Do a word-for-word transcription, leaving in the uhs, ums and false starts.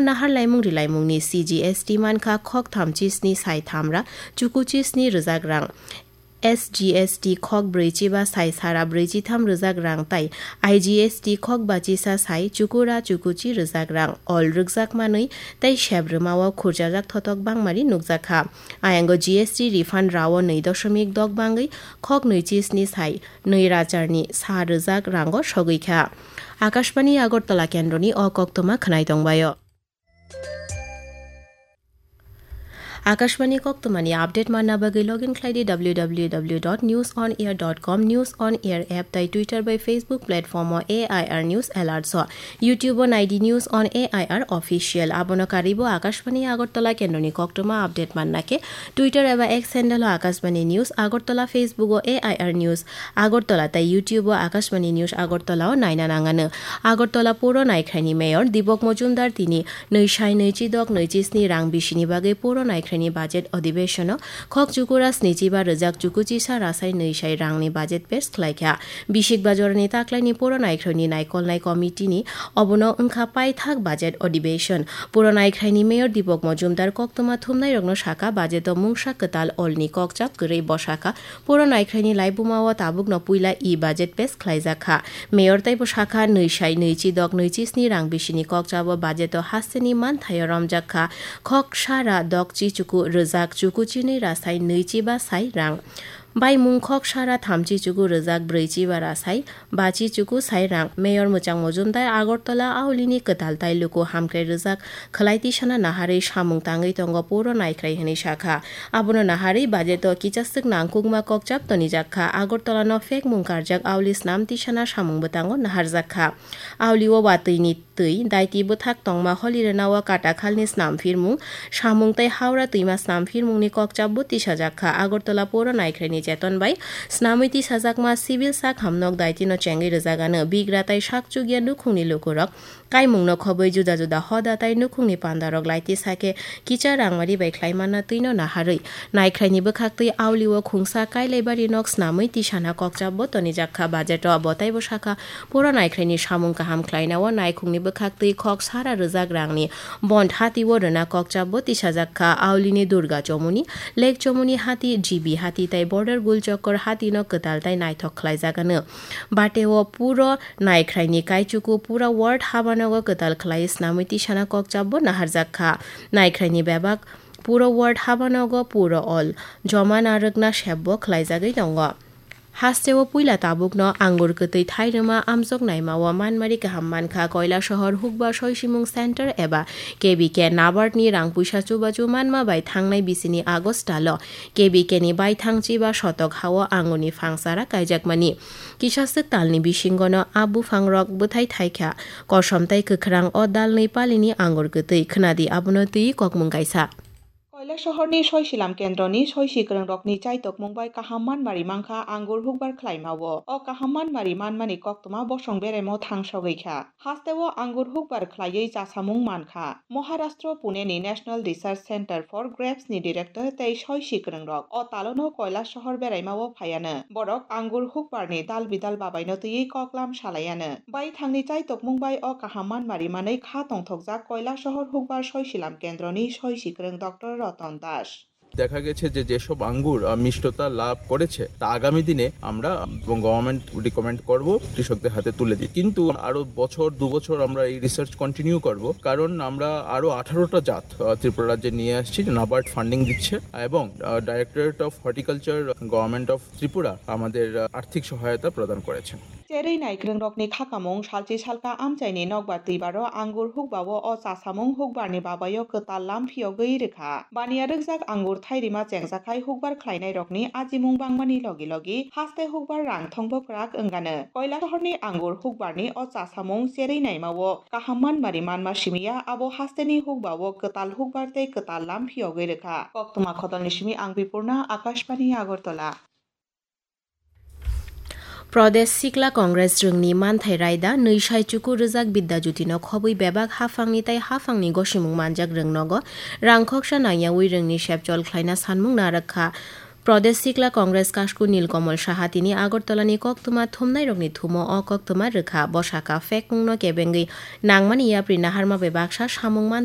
Nahar laimung rilaimungni C G S T mankha khok thamchi sni sai tham ra chukuchi sni rwjak rang. S G S T khok brwichi ba sai sara brwichi tham rwjak rang tai I G S T khok bachisa sai chukura chukuchi rwjak rang ol rwkjak manwi tei sep rwmao khurjajak thotok bangmari nukjakha. Ayango G S T refund rao nwi doshomik dok bangwi khok nwichi sni sai nwi racharni sa rwjak rango sogwi kha. Akashbani Agartala kendroni o koktwma khwnai tongbaio. Akashbani koktwmani update manna bagwi login khlai di W W W dot news on air dot com, News on Air app tai Twitter bai Facebook platform o A I R News Alerts o, YouTube o nai di News on A I R Official. Abono karwi bo Akashbani Agartala kendroni koktwma update manna khe Twitter eba X handle o Akashbani News Agartala, Facebook o A I R News Agartala tai YouTube o Akashbani News Agartala o naina nangano. Agartala puro naikhraini Mayor Dipok Mojumdar tini nwi sai nwichi dok nwichi sni rang bisini bagwi puro naikhraini budget adhibeshon o khok chukura snichi ba rwjak chukuchi sa rasai nwi sai rangni budget pass khlaikha. Bisik bajorani taklaini puro naikhraini naikolnai committee ni obono wngkha paithak budget adhibeshon. Puro naikhraini Mayor Dipok Mojumdar koktwma thumnairokno sakha budget o mungsa kwtal olni kokchap kwrwi bwsakha. Puro naikhraini laibuma o tabukno puila e-budget pass khlaijak kha. Mayor taibo sakha, nwi sai nwichi dok nwichi sni rang bisini kokchap o budget o hasteni manthaio romjak kha khok sara dokchi chuku rwjak chuku chinwi rasai nwichi ba sai rang. Baimung khok sara thamchi chuku rwjak brwichi ba rasai bachi chuku sai rang. Mayor Mwchang Mojumdar Agartala aulini kwtal tai luku hamkrai rwjak khwlai tisana naharwi samung tangwi tongo puro naikhrai hwnwi sakha. Abono naharwi budget o kichaswk nangkukma kokchap tonijak kha. Agartala no phekmung karjak auli snam tisana samung bwtango naharjak kha. Auli o watwi ni twi daiti bwthak tongma holi rwnao katakhalni snam phirmung, samung tei Howrah twima snam phirmungni kokchapbo tisajak kha. Agartala puro naikhraini cheton bai snamwi tisajakma civil sak hamnok daitino chengwi rwjagano. Bigra tai sakchukya nukhungni lukurok kaimungno khobwi juda juda hoda tai nukhungni pandarok laitisa khe kicha rangmari bai khlaimanna twino naharwi naikhraini bwkhaktwi auli o khungsa Kailaibari nok snamwi tisana kokchapbo tonijak kha. Budget o bo taibo sakha, puro naikhraini samung kaham khlainao naikhungni bwkhaktwi khok sara rwjak rangni bond hati o rwna kokchapbo tisajak kha. Aulini Durga Chomuni, Lake Chomuni hati, G B hati tai Border Gul Chokor hatino kwtal tai naithok khlaijagano. Bateo puro naikhraini kaichuku pura ward habanogo kwtal khlai snamwi tisana kokchapbo naharjak kha. Naikhraini bebak puro ward habanogo puro ol joma narwkna sepbo khlaijagwi tongo. Hasteo puila tabukno angur kwtwi thairwma amjok naimao manmari kaham mankha. Koilasohor Hukbar Soisimung Center eba K B K NABARD ni rang puisa chubachu manma bai thangnai bisini August talo K B K ni baithang chiba sotok hao angurni phangsara kaijakmani. Kisaswk talni bisingono a buphangrok bwthai thaikha. Kosom tai kwkhrang o dalnwi palini angur kwtwi. Khwnadi abono twi kokmung kaisa. Koilasohorni Soisilam Kendroni soisi kwrwngrokni chaitokmung bai kaham manmari mankha angur hukbar khlaimao. O kaham manmari manmani koktwma bosong beraimo thangsogwi kha. Hasteo angur hukbar khlaiwi chasamung mankha. Maharashtra Puneni National Research Center for Grapes ni director tei soisi kwrwngrok o talono Koilasohor beraimao phaiano. Borok angur hukbarni dal bidal babaino twiwi koklam salaiano. Baithangni chaitokmung bai o kaham manmari manwi kha tongthokjak Koilasohor Hukbar Soisilam Kendroni soisi kwrwng Doctor Roton Das. দেখা গেছে যে যেসব আঙ্গুর আহ, মিষ্টতা লাভ করেছে, তা আগামী দিনে আমরা এবং গভর্নমেন্ট রিকমেন্ড করব কৃষকদের হাতে তুলে দিই। কিন্তু আরো বছর দু বছর আমরা এই রিসার্চ কন্টিনিউ করব, কারণ আমরা আরো আঠারোটা জাত আহ, ত্রিপুরা রাজ্যে নিয়ে আসছি, নাবার্ড ফান্ডিং দিচ্ছে এবং directorate of horticulture, government of Tripura আমাদের আহ, আর্থিক সহায়তা প্রদান করেছেন। Cherwi naikwrwngrokni khakamung salchi salka amchaini nokbar twibaro angur hukbao o chasamung hukbarni babaio kwtal lam phiyogwi rwkha. Baniya rwkjak angur thairima chengjakhai hukbar khlainairokni ajimung bangmani logi logi haste hukbar rang thongbo kwrak wngano. Koilasohorni angur hukbarni o chasamung cherwi naimao kaham manmari manma simiya abo hasteni hukbao kwtal hukbar tei kwtal lam phiyogwi rwkha. Koktwma Khodolni simi ang Bipurna, Akashbani Agartala. Pradesh Sikla Congress rwngni manthai raida nwi sai chuku rwjak Bidya Jyoti no khobwi bebak haphangni tai haphangni gosimung manjak rwng nogo rang khoksa nangyawi rwngni sepchol khlaina sanmung narwk kha. Pradesh Sikla Congress kasku Nilkamal Saha tini Agartala ni koktwma thumnairokni thumo o koktwma rwkha. Bo sakha, phekmung no kebengwi nangmani yapri naharma bai baksa samung mantha